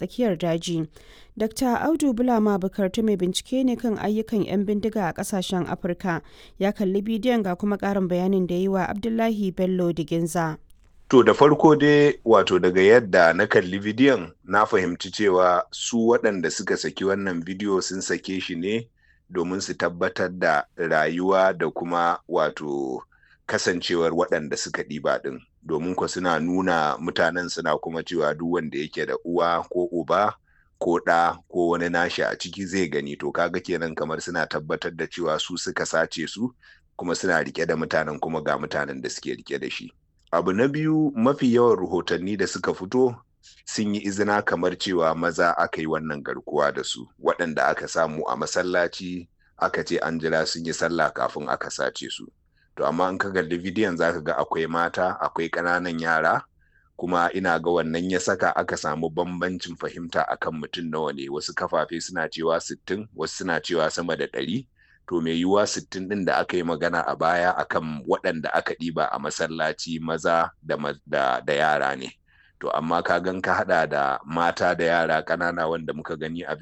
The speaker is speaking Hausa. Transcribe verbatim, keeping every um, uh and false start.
tsakiyar daji. Doctor Audu Bulama Bukartu mai bincike ne kan ayyukan 'yan bindiga a kasashen Afirka ya kalli bidiyon, ga kuma ƙarin bayanin da yi wa Abdullahi Bello Diginza. To, da farko dai, wato daga yadda na kalli bidiyon, na fahimci cewa su waɗanda suka saki wannan bidiyo sun sake shi ne domin su tabbatar da rayuwa da kuma wato kasancewar waɗanda suka ɗiba ɗin. Domin ko suna nuna mutanen, suna kuma cewa duk wanda yake da uwa ko uba ko ɗa ko wani nashi a ciki zai gani. To, kaga kenan kamar suna tabbatar da cewa su suka sace su kuma suna rike da mutanen, kuma ga mutanen da suke rike da shi. Abu na biyu, mafi yawan rahotanni da suka fito sun yi izina kamar cewa maza aka yi wannan garkuwa da su, waɗanda aka samu a masallaci, aka ce an jira sun yi sallah kafin aka sace su. To, amma in ka kalli bidiyon zaka ga akwai mata, akwai ƙananan yara, kuma ina ga wannan ya saka aka samu bambancin fahimta akan mutum nawa ne. Wasu kafafe suna cewa sittin, wasu suna cewa sama da ɗari. To, mai yiwuwa sittin ɗin da aka yi magana a baya akan waɗanda aka ɗiba a masallaci maza da, da, da yara ne. To, amma ka gan ka haɗa da mata da yara ƙanana wanda muka gani a